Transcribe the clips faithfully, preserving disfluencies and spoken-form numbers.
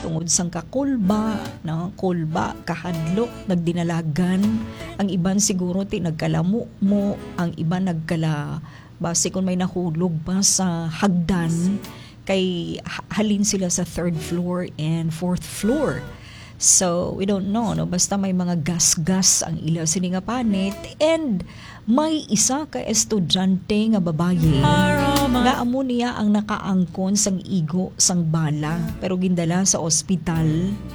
tungod sang kakulba, no? Kulba, kahadlok, nagdinalagan. Ang iban siguro ti nagkalamumo, ang iban nagkala-, basi kung may nahulog pa sa hagdan, kay ha-, halin sila sa third floor and fourth floor. So, we don't know, no? Basta may mga gasgas ang ila sini nga panit, and may isa ka estudyante nga babayi nga amo niya ang nakaangkon sang igo sang bala, pero gindala sa ospital,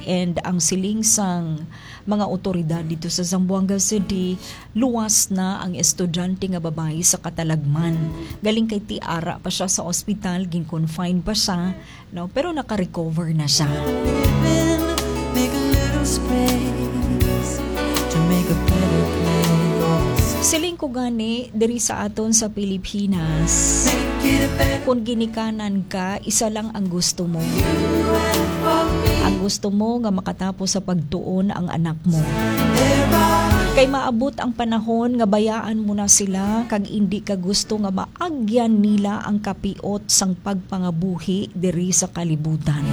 and ang siling sang mga awtoridad dito sa Zamboanga City, luwas na ang estudyante nga babayi sa katalagman. Galing kay ti ara pa siya sa ospital, gin-confine pa siya, no? Pero naka-recover na siya. Living, make a little space to make a better place. Siling ko gani, diri sa aton sa Pilipinas, make it a better kung ginikanan ka, isa lang ang gusto mo. You and for me. Ang gusto mo nga makatapos sa pagtuon ang anak mo. There are Kay maabot ang panahon nga bayaan mo na sila, kag indi ka gusto nga maagyan nila ang kapiot sang pagpangabuhi diri sa kalibutan.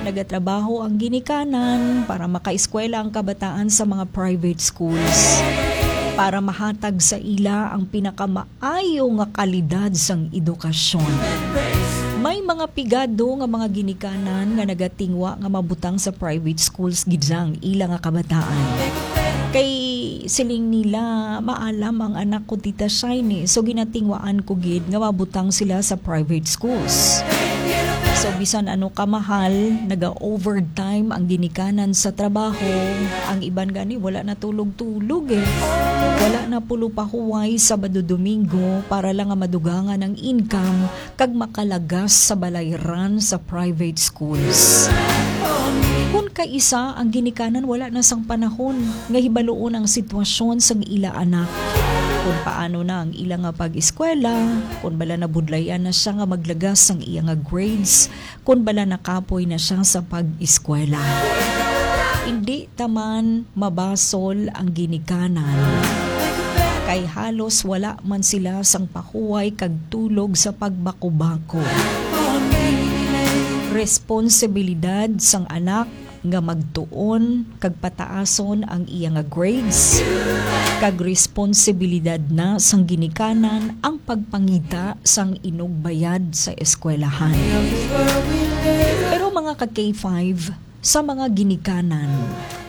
Nagatrabaho ang ginikanan para makaeskwela ang kabataan sa mga private schools, para mahatag sa ila ang pinakamaayo nga kalidad sang edukasyon. May mga pigado nga mga ginikanan nga nagatingwa nga mabutang sa private schools gid ang ila nga kabataan. Kay siling nila, maalam ang anak ko, Tita Shiny. So, ginatingwaan ko gid nga mabutang sila sa private schools. So, bisan ano kamahal, naga-overtime ang ginikanan sa trabaho. Ang iban gani, wala na tulog-tulog eh. Wala na pulo pahuway Sabado, Domingo para lang nga madugangan ang income kag makalagas sa balayran sa private schools. Kun kaisa ang ginikanan, wala na sang panahon nga hibaluon ang sitwasyon sang ila anak. Kun paano na ang ila nga pag-eskwela, kun bala nabudlayan na siya nga maglagas sang iya nga grades, kun bala nakapoy na siya sa pag-eskwela. Indi taman mabasol ang ginikanan, kay halos wala man sila sang pahuway kag tulog sa pagbakubako. Responsibilidad sang anak nga magtuon kag pataason ang iya nga grades, kag responsibilidad na sang ginikanan ang pagpangita sang inugbayad sa eskwelahan. Pero mga ka K five, sa mga ginikanan,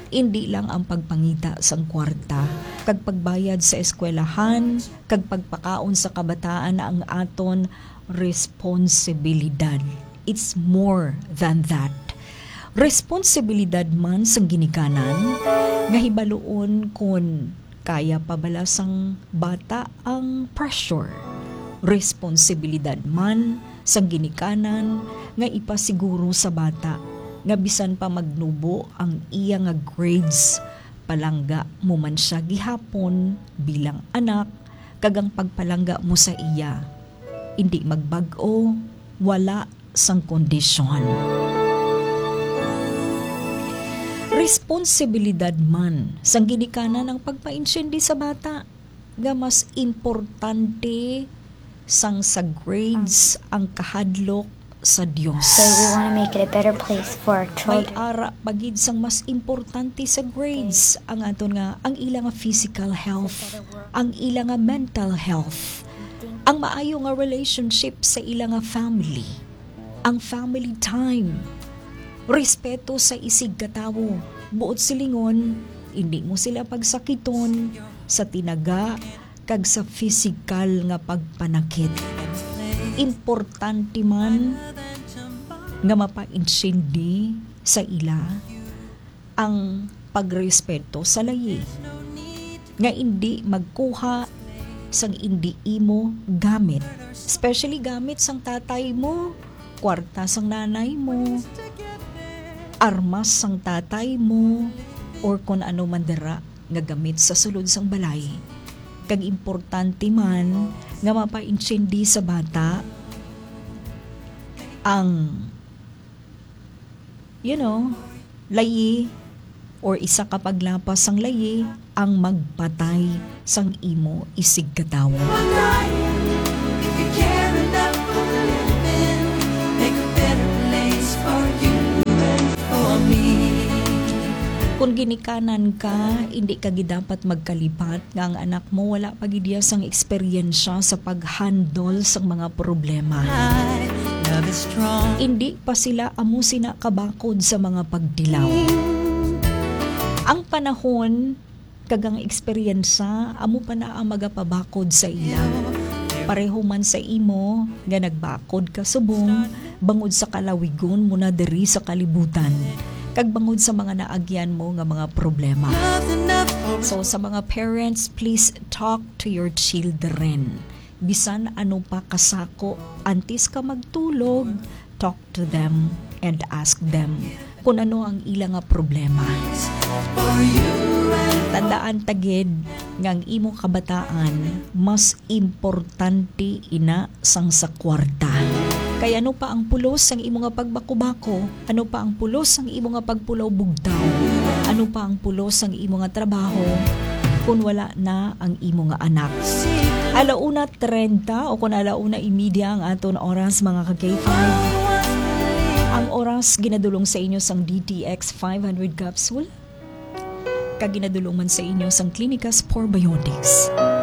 indi lang ang pagpangita sang kwarta kag pagbayad sa eskwelahan kag pagpakaon sa kabataan ang aton responsibilidad. It's more than that. Responsibilidad man sang ginikanan nga hibaluon kon kaya pa bala sang bata ang pressure. Responsibilidad man sang ginikanan nga ipasiguro sa bata nga bisan pa magnubo ang iya nga grades, palangga mo man siya gihapon bilang anak, kag ang pagpalangga mo sa iya indi magbag-o, wala sang kondisyon. Responsibilidad man sang ginikanan ang pagpaintindi sa bata nga mas importante sang sa grades ang kahadlok sa Dios. So we wanna make it a better place for our May children. Ara pa gid sang mas importante sa grades ang aton nga, ang ila nga physical health, ang ila nga mental health, ang maayo nga relationship sa ila nga family, ang family time, respeto sa isigkatawo, buot silingon, indi mo sila pagsakiton sa tinaga kag sa pisikal nga pagpanakit. Importante man nga mapaintindi sa ila ang pagrespeto sa layi, nga indi magkuha sang indi imo gamit, especially gamit sang tatay mo, kwarta sang nanay mo, armas sang tatay mo, or kon ano man dira nga gamit sa sulod sang balay. Kag importante man nga mapaintindi sa bata ang, you know, layi or isa ka paglapas sang layi ang magpatay sang imo isigkatawo. If you care enough for the living, make a better place for you and Kung ginikanan ka, hindi ka gid dapat magkalipat nga ang anak mo wala pa gid iya sang eksperyensya sa pag-handle sang mga problema. Hindi pa sila amo sina kabakod sa mga pagtilaw. Ang panahon kag ang eksperyensya amo pa na ang magapabakod sa ila. Pareho man sa imo nga nagbakod ka subong bangod sa kalawigon mo na diri sa kalibutan, kag bangod sa mga naagyan mo nga mga problema. So, sa mga parents, please talk to your children. Bisan ano pa kasako, antes ka magtulog, talk to them and ask them kung ano ang ila nga problema. Tandaan ta gid nga ang imo kabataan mas importante ina sang sa kwarta. Kay ano pa ang pulos sang imo nga pagbakubako? Ano pa ang pulos sang imo nga pagpulaw bugtaw? Ano pa ang pulos sang imo nga trabaho? Kung wala na ang imo nga anak. Alauna treinta o kung alauna y media ang aton oras, mga ka-K five. Ang oras ginadulong sa inyo sang D T X five hundred capsule, kag ginadulong man sa inyo sang Clinicas Probiotics.